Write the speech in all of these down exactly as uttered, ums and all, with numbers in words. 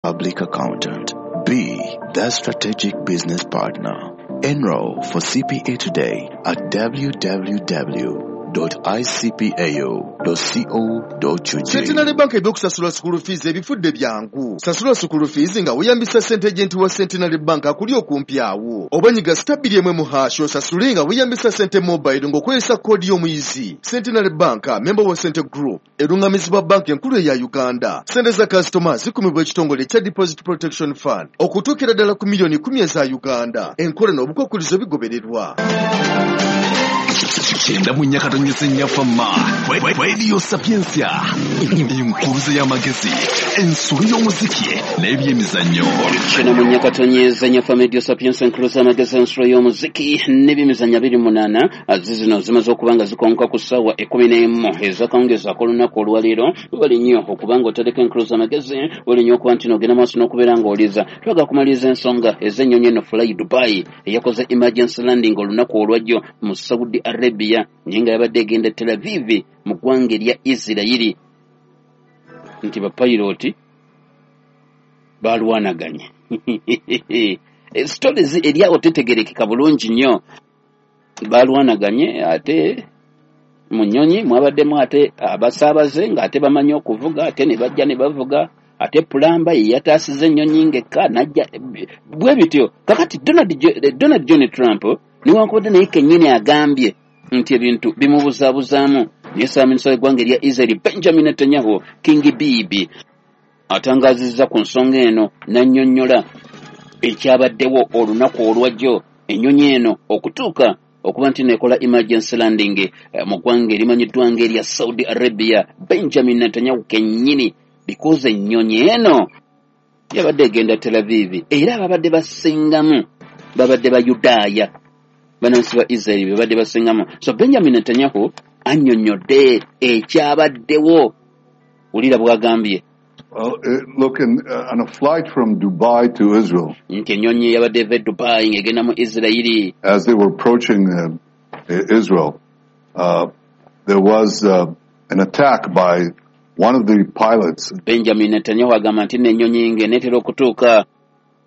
Public accountant. Be the strategic business partner. Enroll for C P A today at w w w dot i c p a o dot co dot u g. Centenary Bank ebyokusasula school fees ebifudde byangu. Sasula school fees nga weyambisa ssente agent wa Centenary Bank akuli okumpi awo. Oba nyiga star bbiri emu mu hash osasule nga weyambisa ssente mobile ng'okozesa koodi y'omuyizi. Centenary Bank, member wa Sente Group, erungamizibwa banki enkulu eya Uganda. Ssente za customer zikumibwa ekitongole ekya Deposit Protection Fund okutuukira ddala ku miliyoni kkumi eza Uganda. Enkola n'obukwakkulizo bigobererwa. Kyenda mu nnya katonyeze nnya fama. Radio Sapientia. Enkuruze y'amagezi, ensulu y'omuziki n'ebyemizannyo. Kyenda mu nnya katonyeze nnya fama Radio Sapientia, enkuruze y'amagezi, ensulu y'omuziki n'ebyemizannyo abiri munaana. Zizino zimaze okuba nga zikonka ku ssaawa ekkumi n'emu ez'akawungeezi ak'olunaku olwaleero. Webale nnyo okuba nga otereka enkuruze y'amagezi, webale nnyo okuba nti n'ogenda maaso n'okubeera ng'oliza. Twagala kumaliriza ensonga ez'ennyonyi eno Fly Dubai eyakoze emergency landing olunaku olwajjo mu Saudi Arabia, naye nga yabadde egenda Tel Aviv mu ggwanga erya Isirayiri, nti bapayirooti balwanaganye. Stories eri awo tetegerekeka bulungi nnyo. Balwanaganye ate mu nnyonyi mwabaddemu ate abasaabaze ng'ate bamanyi okuvuga, ate ne bajja ne bavuga, ate pulamba ye yataasiza ennyonyi ng'ekka n'ajja bwe bityo. Kakati Donald, Donald John Trump newankubadde naye kennyini agambye nti ebintu bimubuzaabuzaamu, naye ssaabaminisita w'eggwanga erya Israel Benjamin Netanyahu, King Bibi, atangaazizza ku nsonga eno n'annyonnyola ekyabaddewo olunaku olwajjo ennyonyi eno okutuuka okuba nti neekola emergency landing mu ggwanga erimanyiddwa ng'erya Saudi Arabia. Benjamin Netanyahu kennyini, because ennyonyi eno yabadde egenda Tel Aviv, era ababadde basingamu babadde Bayudaaya, bannansi ba Israel babadde basingamu. So Benjamin Netanyahu annyonnyodde ekyabaddewo. Wulira bw'agambye. Well, uh, look, in, uh, on a flight from Dubai to Israel, nti ennyonyi yabadde eva e Dubai ng'egenda mu Israeli. As they were approaching uh, Israel, uh, there was uh, an attack by one of the pilots. Benjamin Netanyahu agamba nti n'ennyonyi ng'eneetera okutuuka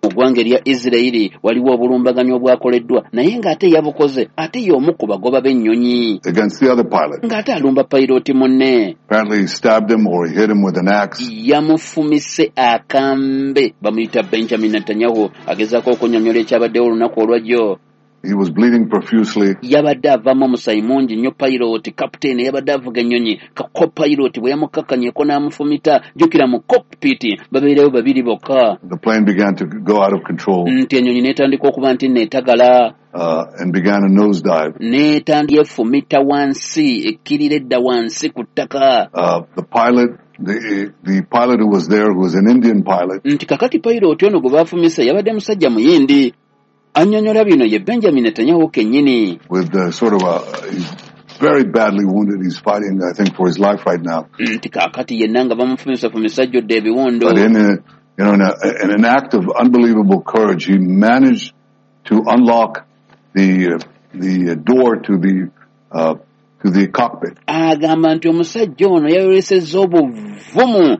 mu ggwanga erya Israeli waliwo obulumbaganyi obwakoleddwa, naye ng'ate yabukoze ate y'omu ku bagoba b'ennyonyi against the other pilot. Ng'ate alumba payirooti munne. Apparently he stabbed him or he hit him with an axe. Yamufumise akambe. Bamuyita Benjamin Netanyahu agezaako okunnyonnyola ekyabaddewo olunaku olwajjo. He was bleeding profusely. Yabadde avaamu omusaayi mungi nnyo. Pilot captain yabadde avuga ennyonyi, ka co-pilot bwe yamukakkanyeko n'amufumita. Jjukira mu cockpit babeereyo babiri bokka. The plane began to go out of control. Nti ennyonyi n'etandika okuba nti neetagala. Uh, and began a nosedive. N'etandika efumita wansi, ekkirira edda wansi ku ttaka. Uh, the pilot, the, the pilot who was there, who was an Indian pilot. Nti kakati pilot ono gwe baafumise yabadde musajja muyindi. Annyonnyola bino ye Benjamin Netanyahu kennyini. With the sort of a, he's very badly wounded. He's fighting, I think, for his life right now. Nti kaakati yenna nga bamufumisafumisa ajjudde ebiwundu. But in a, you know, in, a, in an act of unbelievable courage, he managed to unlock the, the door to the, uh, to the cockpit. Agamba nti omusajja ono yayolesezza obuvumu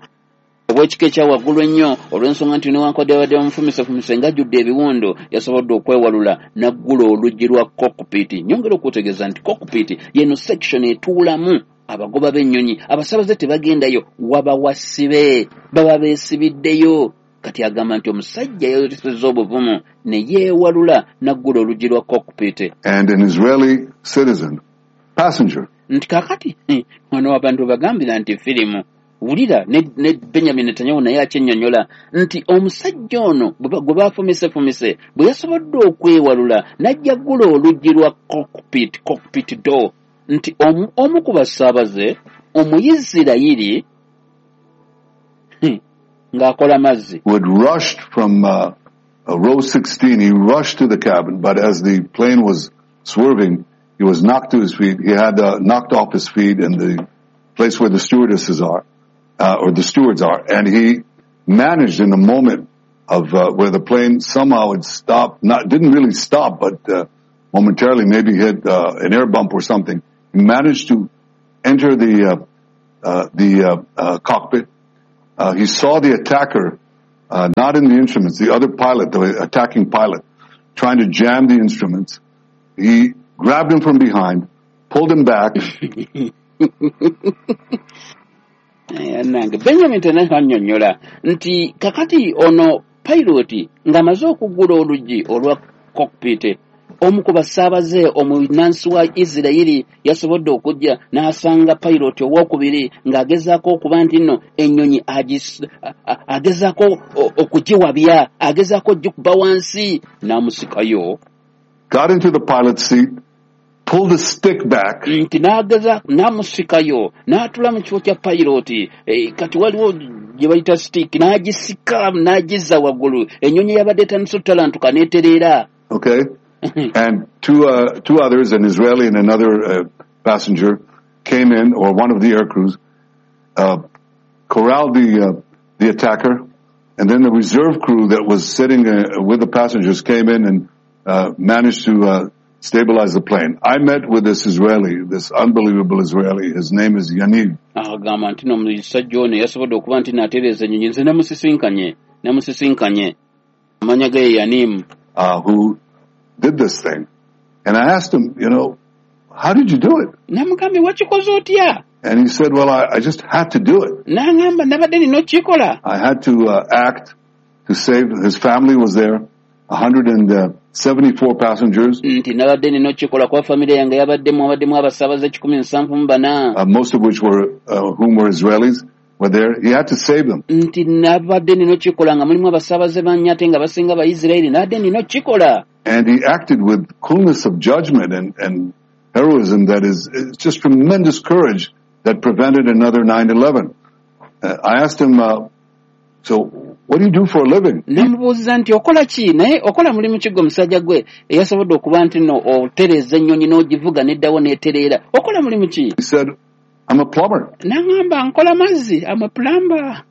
obw'ekika ekya waggulu ennyo olw'ensonga nti newankubadde yabadde bamufumisefumise ng'ajjudde ebiwundu, yasobodde okwewalula n'aggula oluggi lwa cockpit. Nyongera okutegeeza nti cockpit yeno section etuulamu abagoba b'ennyonyi, abasaabaze tebagendayo, waba wasibe, baba beesibiddeyo. Kati agamba nti omusajja yayolesezza obuvumu ne yeewalula n'aggula oluggi lwa cockpit. And an Israeli citizen, passenger. Nti kaakati wano abantu bagambira nti firimu. Wulira ne, ne Benjamin Netanyahu naye akyennyonnyola nti omusajja ono gwe baafumisefumise bwe yasobodde okwewalula n'ajja ggula oluggi lwa cockpit, cockpit door, nti omu, omu ku basaabaze Omuyisirayiri ng'akola mazzi. Who had rushed from, uh, row sixteen, he rushed to the cabin, but as the plane was swerving, he was knocked to his feet. He had, uh, knocked off his feet in the place where the stewardesses are. Uh, or the stewards are, and he managed in the moment of, uh, where the plane somehow had stopped, not, didn't really stop, but, uh, momentarily maybe hit, uh, an air bump or something. He managed to enter the, uh, uh, the, uh, uh, cockpit. Uh, he saw the attacker, uh, not in the instruments, the other pilot, the attacking pilot, trying to jam the instruments. He grabbed him from behind, pulled him back. Nange Benjamin Netanyahu annyonnyola nti kakati ono pilot ng'amaze okuggula oluggi olwa cockpit, omu ku basaabaze omunansi wa Isirayiri yasobodde okujja n'asanga pilot owokubiri ng'agezaako okuba nti nno ennyonyi agezaako okugiwabya, agezaako ogikuba wansi, n'amusikayo. Got into the pilot's seat, pulled the stick back. Nti n'ageza n'amusikayo n'atula mu kifo kya pilot. E, kati waliwo gye bayita stick, n'agisika n'agizza waggulu, ennyonyi yabadde etandise ottalantuka n'etereera. Okay. And two uh, two others, an Israeli and another uh, passenger, came in, or one of the air crews, uh, corralled the uh, the attacker, and then the reserve crew that was sitting uh, with the passengers came in and uh, managed to uh, stabilize the plane. I met with this Israeli, this unbelievable Israeli. His name is Yaniv. Agamba nti n'omusajja ono yasobodde okuba nti n'atereeza ennyonyi, nze namusisinkanye, namusisinkanye. Amannya ge ye Yaniv. Uh, who did this thing. And I asked him, you know, how did you do it? Namugambye wakikoze otya? And he said, well, I, I just had to do it. N'angamba nabadde nina okukikola. I had to uh, act to save, his family was there, one hundred seventy-four passengers. Nti nabadde nina okukikola kuba famire yange yabaddemu abaddemu abasaabaze kikumi nsanvu mu bana. Uh, most of which were, uh, whom were Israelis. Were there. He had to save them. Nti nabadde nina okukikola nga mulimu abasaabaze bannya ate nga basinga Abayisirayiri, nabadde nina okukikola. And he acted with coolness of judgment and, and heroism that is it's just tremendous courage that prevented another nine eleven. Uh, I asked him, uh, so what do you do for a living? Namubuuziza nti okola ki, naye okola mulimu ki gwe omusajja gwe eyasobodde okuba nti nno otereeza ennyonyi n'ogivuga n'eddawo n'etereera, okola mulimu ki? He said, I'm a plumber. N'aŋŋamba nkola mazzi, I'm a plumber.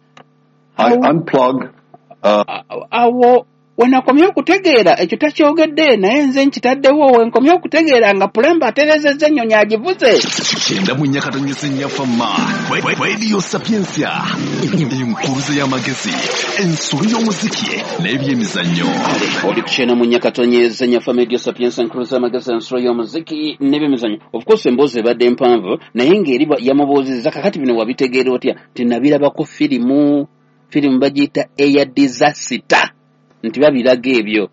I unplug. Uh, awo wenakomye okutegeera ekyo takyogedde, naye nze nkitaddewo wenkomye okutegeera nga pulamba atereezezza ennyonyi agivuze. Kyenda mu nnyakatonyesa ennyafama Radio Sapientia, enkuruze y'amagezi, ensolo y'omuziki n'ebyemizannyo. Oli kukyenda mu nnyakatonyesa ennyafama Radio Sapientia, enkuruze y'amagezi, ensolo y'omuziki n'ebyemizannyo. Of course emboozi ebadde mpanvu, naye ng'eri yamubuuzizza kakati bino wabitegeera otya? Nti nabirabako firimu, firimu bagiyita Air Disaster. Nti babiraga ebyo,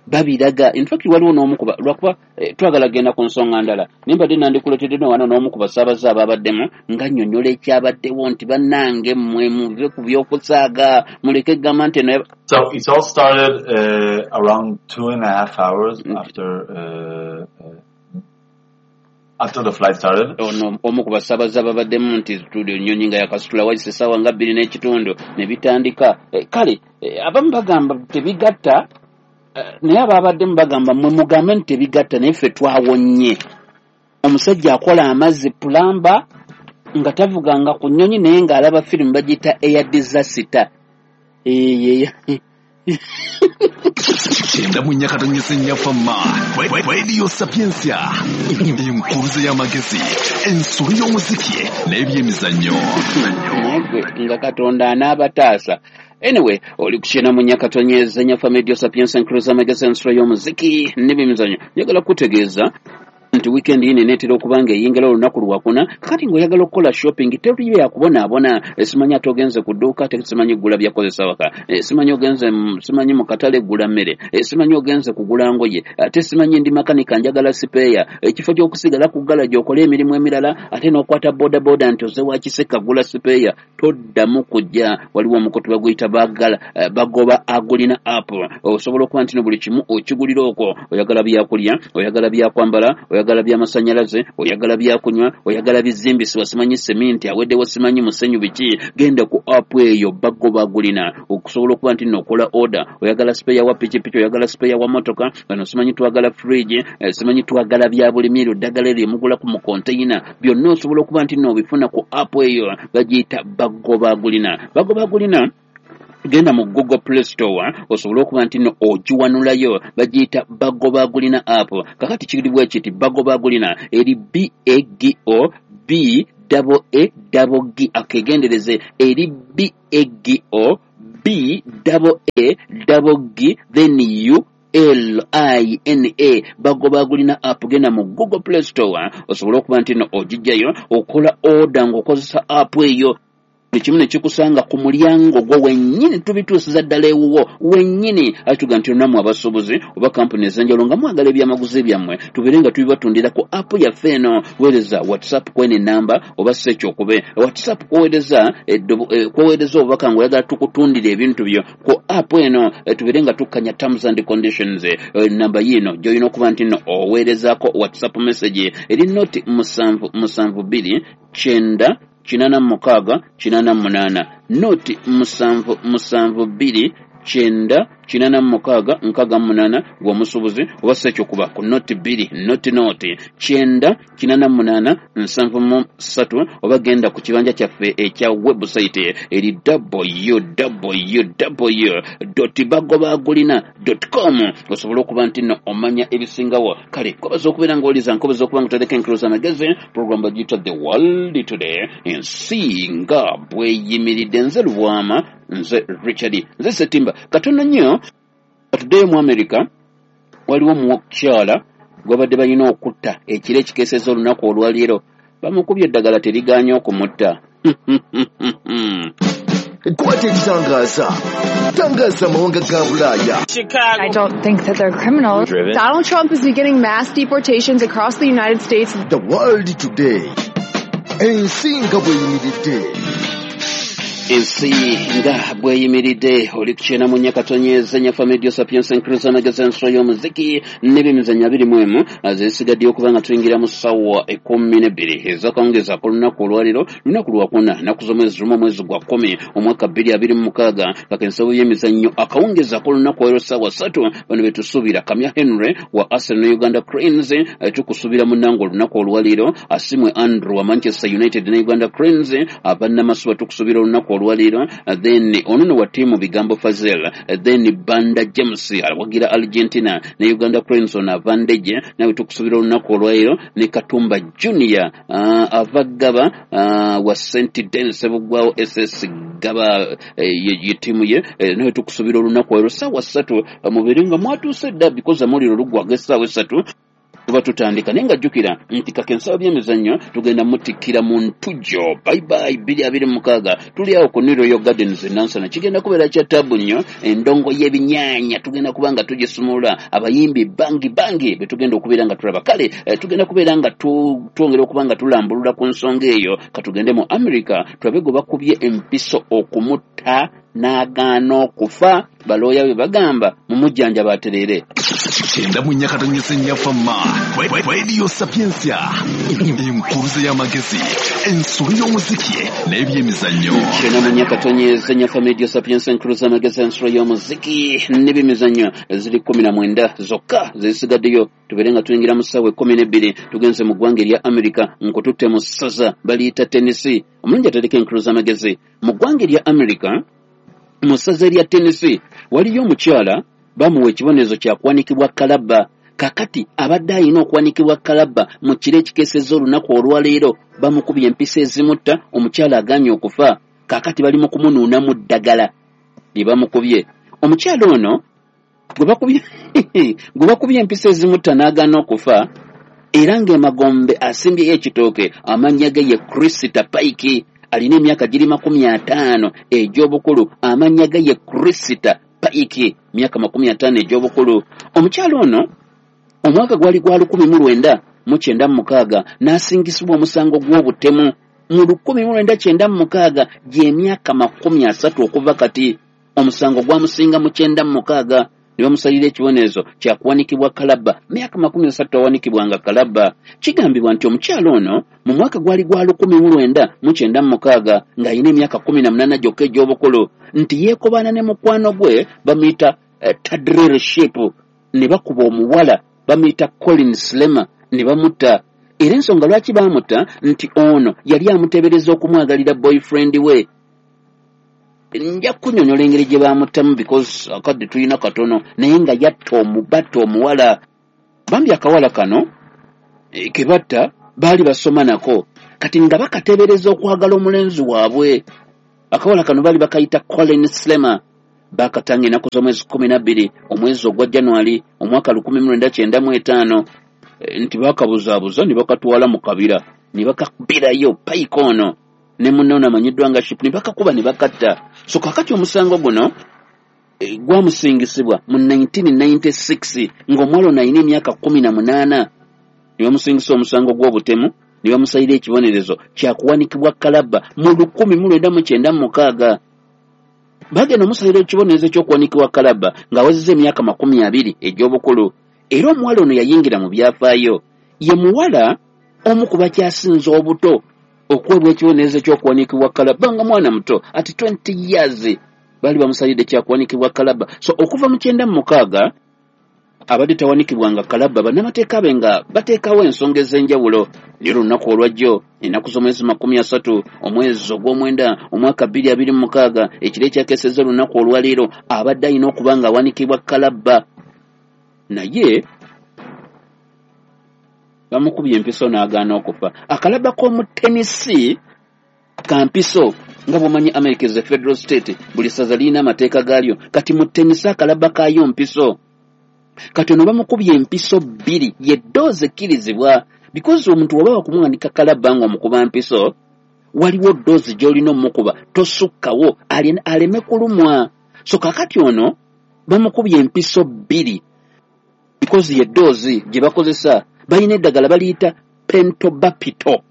babiraga. In fact waliwo n'omukuba, lwakuba eh, twagala genda ku nsonga ndala, naye mbadde nandikuleetedde no wano n'omu ku basaabaze ababaddemu nga nnyonnyola ekyabaddewo nti bannange mmwe muve ku by'okusaaga, muleke gamba nti eno. So it all started uh, around two and a half hours after uh, uh, after the flight started. Ono omu ku basaabaze ababaddemu nti studio nnyonyi nga yakasitula wayise essaawa nga bbiri n'ekitundu ne bitandika. Eh, kale eh, abamu bagamba tebigatta, eh, naye ababaddemu bagamba mmwe mugambe nti tebigatta, naye ffe twawonye. Omusajja akola amazzi pulamba nga tavuganga ku nnyonyi, naye ng'alaba firimu bagiyita Air Disaster. Eh, Kyenda mu nnyakatonyesa ennyafama Radio Sapientia, enkuruze y'amagezi, ensolo y'omuziki n'ebyemizannyo. Nga Katonda anaabataasa. Anyway, oli kukyenda mu nnyakatonyesa ennyafama Radio Sapientia, enkuruze y'amagezi, ensolo y'omuziki n'ebyemizannyo. Njagala kutegeeza nti weekend yino eneetera okuba nga eyingira olunaku lwakuna, kakati ng'oyagala okukola shopping teri byakubonaabona. Simanyi ate ogenze ku dduuka, simanyi gula byakozesa waka, simanyi ogenze simanyi mu katale gula mmere, simanyi ogenze kugula ngoye, ate simanyi ndi makanika njagala sipeeya. Ekifo ky'okusigala ku galaji okole emirimu emirala, ate n'okwata bodaboda nti oze wa Kiseka gula sipeeya, toddamu kujja. Waliwo omukutu baguyita bagala bagoba agulina app, osobola okuba nti no buli kimu okigulira okwo. Oyagala byakulya, oyagala byakwambala, oyagala by'amasannyalaze, oyagala byakunywa, oyagala bizimbisibwa, simanyi seminti aweddewo, simanyi musenyu biki, genda ku app eyo bagoba agulina okusobola okuba nti n'okola order. Oyagala sipeeya wa pikipiki, oyagala sipeeya wa motoka, bano simanyi twagala fridge, simanyi twagala bya bulimi, eddagala eryo mugula ku mu container, byonna osobola okuba nti n'obifuna ku app eyo bagiyita bagoba agulina. Bagoba agulina genda mu Google Play Store osobola okuba nti no ogiwanulayo, bagiyita bagoba agulina app. Kakati kiri bwe kiti, bagoba agulina eri B A G O B double A double G, akegendereze eri B A G O B double A double G then U L I N A Bagoba Agulina app, genda mu Google Play Store osobole okuba nti no ogijjayo okola order ng'okozesa app eyo, buli kimu ne kikusanga ku mulyango gwo wennyini, tubituusiza ddala ewuwo wennyini. Ate tuga nti nammwe abasuubuzi oba kampuni ez'enjawulo nga mwagala ebyamaguzi byammwe tubeere nga tubibatundira ku app yaffe eno, weereza WhatsApp kweno enamba oba si ekyo okube WhatsApp kwoweereza kwoweereza obubaka ng'oyagala tukutundira ebintu byo ku app eno, tubeere nga tukkanya terms and conditions. Namba yiino gy'olina okuba nti nno oweerezaako WhatsApp message eri noti musanvu musanvu bbiri kyenda kinana mukaaga kinana munaana, noti musanvu musanvu bbiri kyenda kinana mukaaga nkaaga munaana gw'omusuubuzi, oba si ekyo kuba ku noti bbiri noti noti kyenda kinana munaana nsanvu mu ssatu, oba genda ku kibanja kyaffe ekya website eri w w w dot bagobagulina dot com osobola okuba nti nno omanya ebisingawo. Kale nkobaza okubeera ng'oliza, nkobaza okuba nga otereka enkiro z'amagezi. Program bagiyita The World Today, ensi nga bweyimiridde. Nze Lubwama, nze Richard, nze Setimba. Katono nnyo katuddeyo mu America, waliwo omukyala gwabadde balina okutta ekiro ekikeesezza olunaku olwaleero, bamukubye eddagala teriganye okumutta. Kwata ekitangaza, tangaza amawanga ga Bulaaya. I don't think that they're criminals. Donald Trump is beginning mass deportations across the United States. The World Today, ensi nga bweyimiridde. Ensi nga bweyimiridde. Oli ku kyenda mu nnya katonyeza nyafa Media Sapiens Encruise amagezi ensolo y'omuziki n'ebyemizannyo abiri mu emu zisigaddeyo okuba nga tuyingira mu ssaawa ekkumi n'ebbiri ez'akawungeezi ak'olunaku olwaleero, lunaku lwakuna, nnaku z'omwezi lumu omwezi gwa kkumi omwaka bbiri abiri mu mukaaga. Kaka ensawo y'emizannyo akawungeezi ak'olunaku olwaleero ssaawa ssatu, bano be tusuubira Kamya Henry wa Arsenal ne Uganda Cranes, tukusuubira munnange olunaku olwaleero. Asimwe Andrew wa Manchester United ne Uganda Cranes, abannamasuba tukusuubira olunaku olwaleero. Then ono wa ttiimu Bigambo Fazel, then Banda James awagira Argentina ne Uganda Cranes, ono ava Ndejje nawe tukusuubira olunaku olwaleero, ne Katumba Junior uh, ava Gaba uh, wa Saint Denis Sebuggwawo S S Gaba ye ttiimu ye, nawe tukusuubira olunaku olwaleero ssaawa ssatu, mubeere nga mwatuuse dda because amawulire oluggwaga essaawa essatu tuba tutandika. Naye nga jjukira nti kaka ensawo by'emizannyo tugenda mutikkira mu ntujjo bye bye bbiri abiri mu mukaaga, tuli awo ku New Royal Gardens e Nansana, kigenda kubeera kya taabu nnyo. Endongo y'ebinyaanya tugenda kuba nga tugisumulula, abayimbi bangi bangi be tugenda okubeera nga tulaba. Kale tugenda kubeera nga twongera okuba nga tulambulula ku nsonga eyo. Katugende mu America tulabe gwe bakubye empiso okumutta n'agaana okufa, balooya bwe bagamba mumujjanjaba atereere. Kyenda mu nnya katonyeze nnyafa ma Radio Sapientia, enkuruze y'amagezi, ensolo y'omuziki n'ebyemizannyo. Kyenda mu nnya katonyeze nnyafa Radio Sapientia, enkuruze y'amagezi, ensolo y'omuziki n'ebyemizannyo ziri kkumi na mwenda zokka zisigaddeyo tubeere nga tuyingira mu ssaawa ekkumi n'ebbiri. Tugenze mu ggwanga erya America, nkututte mu ssaza baliyita Tennessee. Omulungi atereka enkuruze y'amagezi mu ggwanga erya America, mu ssaza erya Tennessee waliyo omukyala bamuwa ekibonerezo kya kuwanikibwa kalabba. Kakati abadde alina okuwanikibwa kalabba mu kiro ekikeesezza olunaku olwaleero, bamukubye empisa ezimutta, omukyala agaanye okufa. Kakati bali mu kumunuunamu ddagala lye bamukubye. Omukyala ono gwe bakubye gwe bakubye empisa ezimutta n'agaana okufa, era ng'emagombe asimbyeyo ekitooke, amannya ge ye Krista Pike, alina emyaka giri makumi ataano egy'obukulu, amannya ge ye Krista Pike, myaka makumi ataano egy'obukulu. Omukyala ono omwaka gwali gwa lukumi mu lwenda mu kyenda mu mukaaga n'asingisibwa omusango gw'obutemu mu lukumi mu lwenda kyenda mu mukaaga, gy'emyaka makumi asatu okuva kati. Omusango gwamusinga mu kyenda mu mukaaga ne bamusalira ekibonerezo kya kuwanikibwa kalabba, myaka makumi asatu awanikibwanga kalabba. Kigambibwa nti omukyala ono mu mwaka gwali gwa lukumi mu lwenda mu kyenda mu mukaaga ng'alina emyaka kkumi na munaana gyokka egy'obukulu, nti yeekobaana ne mukwano gwe bamuyita eh, Tadrell Ship, ne bakuba omuwala bamuyita Colin Slema ne bamutta. Era ensonga lwaki baamutta nti ono yali amuteebereza okumwagalira boyfriend we. Nja kunnyonnyola engeri gye baamuttamu because akadde tulina katono, naye nga yatta omubatta omuwala. Bambi akawala kano e, ke batta baali basoma nako, kati nga bakateebereza okwagala omulenzi waabwe. Akawala kano baali bakayita Colin Slema, bakatanga ennaku z'omwezi kkumi na bbiri omwezi ogwa January omwaka lukumi mu lwenda kyenda mu etaano, nti bakabuzaabuza ne bakatwala mu kabira ne bakakubirayo Pike ono ne munne ono amanyiddwa nga Ship ne bakakuba ne bakatta. So kaakati omusango guno e, gwamusingisibwa mu nineteen ninety-six ng'omuwala ono alina emyaka kkumi na munaana, ne bamusingisa omusango gw'obutemu ne bamusalira ekibonerezo kyakuwanikibwa kalabba mu lukumi mu lwenda mu kyenda mu mukaaga. Bagenda omusalira ekibonerezo ky'okuwanikibwa kalabba ng'awezezza emyaka makumi abiri egy'obukulu. Era omuwala ono yayingira mu byafaayo, ye muwala omu ku bakyasinze obuto okuweebwa ekibonerezo ky'okuwanikibwa kalabba nga mwana muto at twenty years baali bamusalidde kyakuwanikibwa kalabba. So okuva mu kyenda mu mukaaga abadde tawanikibwanga kalabba, bannamateeka be nga bateekawo ensonga ez'enjawulo. Naye olunaku olwajjo ennaku z'omwezi makumi asatu omwezi ogw'omwenda omwaka bbiri abiri mu mukaaga, ekiro ekyakeesezza olunaku olwaleero, abadde alina okuba nga awanikibwa kalabba, naye bamukubye empiso n'agaana okufa. Akalabba k'omu Tennessee ka mpiso, nga bw'omanyi America is a federal state, buli ssaza lirina amateeka gaalyo. Kati mu Tennessee akalabba kaayo mpiso. Kati ono bamukubye empiso bbiri, ye ddoozi ekkirizibwa, because omuntu oba wakumuwanika kalabba ng'omukuba mpiso, waliwo ddoozi gy'olina omukuba tosukkawo aleme kulumwa. So kaakati ono bamukubye empiso bbiri because ye ddoozi gye bakozesa. Balina eddagala baliyita pentobapito,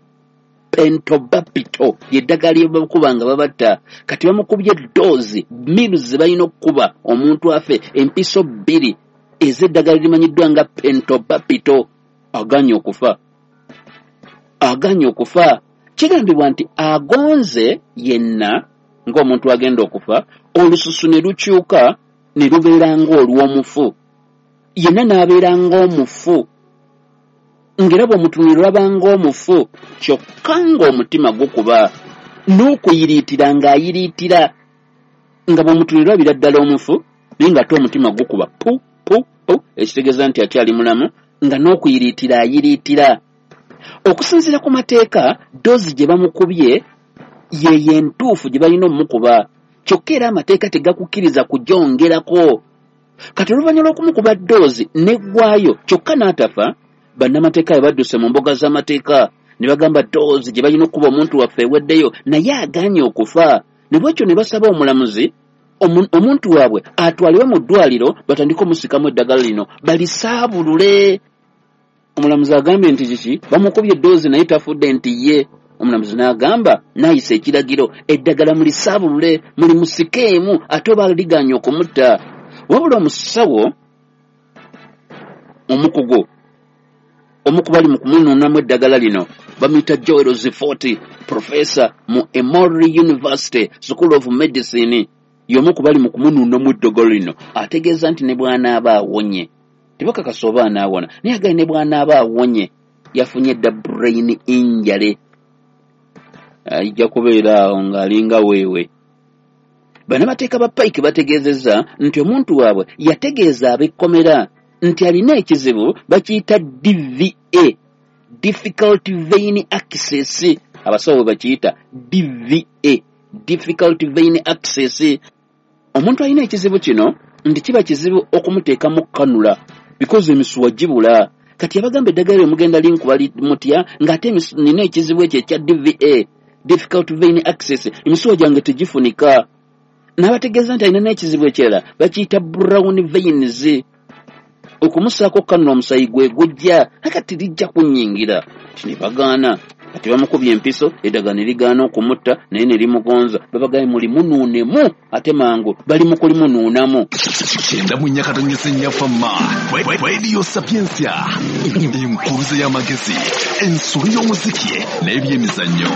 pentobapito ye ddagala lye bakuba nga babatta. Kati bamukubye ddoozi miru ze balina okukuba omuntu afe, empiso bbiri ez'eddagala limanyiddwa nga pentobapito. Aganye okufa, aganye okufa. Kigambibwa nti agonze yenna ng'omuntu agenda okufa, olususu ne lukyuka ne lubeera ng'olw'omufu, yenna n'abeera ng'omufu, ng'era bw'omutunuulira olaba ng'omufu, kyokka ng'omutima gukuba n'okuyiriitira ng'ayiriitira, nga bw'omutunuulira olabira ddala omufu, naye ng'ate omutima gukuba pu pu pu, ekitegeeza nti akyali mulamu, nga n'okuyiriitira ayiriitira. Okusinziira ku mateeka, ddoozi gye bamukubye ye entuufu gye balina omukuba, kyokka era amateeka tegakukkiriza kugyongerako. Kati oluvannyuma lw'okumukuba ddoozi n'eggwayo kyokka n'atafa, bannamateeka bwe badduse mu mbuga z'amateeka ne bagamba ddoozi gye balina okukuba omuntu waffe eweddeyo, naye agaanye okufa. Ne bwekyo ne basaba omulamuzi omuntu waabwe atwalibwe mu ddwaliro batandike omusikamu eddagala lino balisaabulule. Omulamuzi agambye nti kiki, bamukubye eddoozi naye tafudde, nti ye. Omulamuzi n'agamba n'ayisa ekiragiro, eddagala mulisaabulule mulimusikeemu ate oba ligaanye okumutta. Wabula omusawo omukugu omu ku bali mu kumunuunamu eddagala lino bamuyita Joel Zifoti, professor mu Emory University School of Medicine, y'omu ku bali mu kumunuunamu eddagala lino, ategeeza nti ne bw'anaaba awonye, tebakakasa oba anaawona, naye agaye ne bw'anaaba awonye yafunye dda brain injury, ajja kubeera awo ng'alinga weewe. Bannamateeka ba Pike bategeezezza nti omuntu waabwe yategeeza ab'ekkomera nti alina ekizibu bakiyita D V A, difficult vein access, abasawo bwe bakiyita D V A, difficult vein access. Omuntu alina ekizibu kino nti kiba kizibu okumuteekamu kanula because emisuwa gibula. Kati abagamba eddagala lye mugenda linkuba mutya ng'ate nina ekizibu ekyo ekya D V A, difficult vein access, emisuwa gyange tegifunika. N'abategeeza nti alina n'ekizibu ekirala bakiyita brown veins, okumusaako kanula omusayi gwe gujja akati lijja kunnyingira. Ne bagaana. Kati bamukubye empiso, eddagala ne ligaana okumutta naye ne limugonza. Babagaye mulimunuunemu ate mangu bali mu kulimunuunamu. Kyenda mu nnya katonyeze nnya Fama, Radio Sapientia, enkuruze y'amagezi, ensolo y'omuziki n'ebyemizannyo.